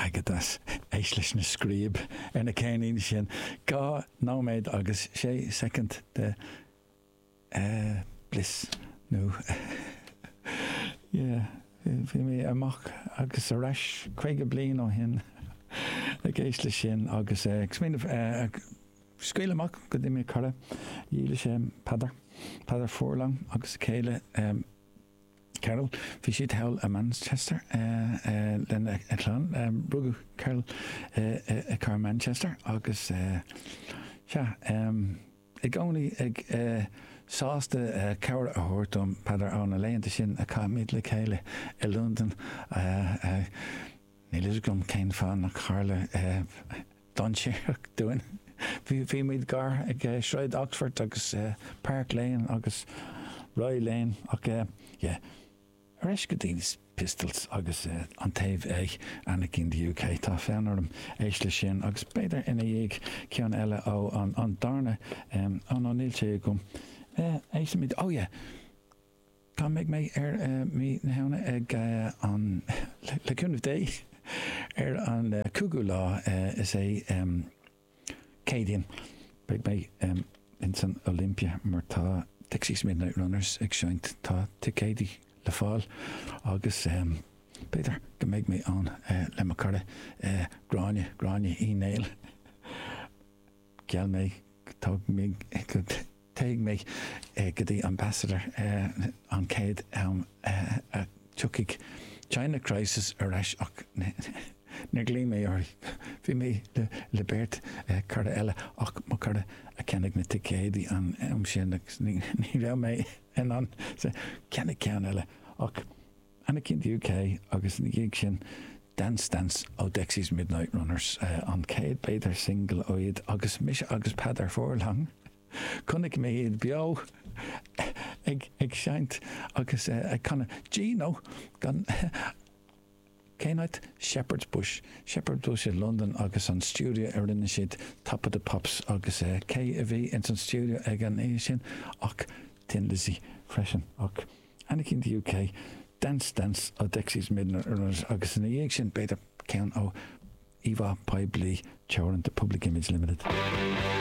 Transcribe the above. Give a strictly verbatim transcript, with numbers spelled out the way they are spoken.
agat as éist leis na Scríb ar na ceirníní sin dhá nóiméad agus sé soicind de uh, bliss nó yeah, bhí mé amach agus arís caoga bliain ó shin ag éist leis sin agus uh, uh, scaoil amach go dtí mé cara dhíle sé Peadar Peadar Furlong agus a chéile um, Carol bhí siad thall i Manchester uh, uh, lena a clann um, rugadh Carol uh, uh, car Manchester agus uh, sea um, i gcónaí ag uh, sásta uh, cabhair a thabhairt dom Peadar ó na laethanta sin a chaith le chéile i London uh, uh, Níl a fhios agam cén fáth nach tharla uh, dainséarach dúinn. Bhí bhí muid gar ag uh, Sráid Oxford agus uh, Park Lane agus Roy Lane ach uh, yeah. Arís go dtí Pistols agus uh, an taobh A Anarchy in the UK tá fonn orm éist leis sin agus b'fhéidir ina dhiaidh ceann eile ó an, an darna um, an an níl sé agam. Uh, Éistfimid oh yeah. Cá mbeidh mé ar uh, mí na Samhna ag uh, an le, le cúnamh Dé ar an uh, cúigiú lá uh, is é um, Céadaoin beidh mé um, in san Olympia mar tá Dexys Midnight Runners ag seinnt tá ticéidí le fáil agus um, b'fhéidir go mbeidh mé ann uh, le mo chara uh, Gráinne Gráinne Uí Néill Geall mé tá mé go téigh mé uh, go dtí Ambassador uh, an céad am uh, uh, tiocfaidh China Crisis ar ais ach níor ghlaoigh mé ar bhí mé le, le beirt uh, cara eile ach mo chara a cheannaigh na ticéidí an am sin agus ní ní raibh mé in ann ceannaigh ceann eile ach Anarchy in the UK agus ina dhiaidh sin Dance Dance ó Dexys Midnight Runners uh, an céad b'fhéidir single ó iad agus mise agus Peadar Furlong. Chonaic mé iad beo ag ag seinnt agus uh, ag canadh Gino gan Cén áit Shepherd's Bush Shepherd's Bush i London agus an studio a rinne siad Top of the Pops agus uh, cé a bhí in san studio ag an é sin ach Thin Lizzy freisin ach Anarchy in the UK Dance Dance ó Dexys Midnight Runners agus ina dhiaidh sin b'fhéidir ceann ó Íomhá Poiblí Teoranta Public Image Limited.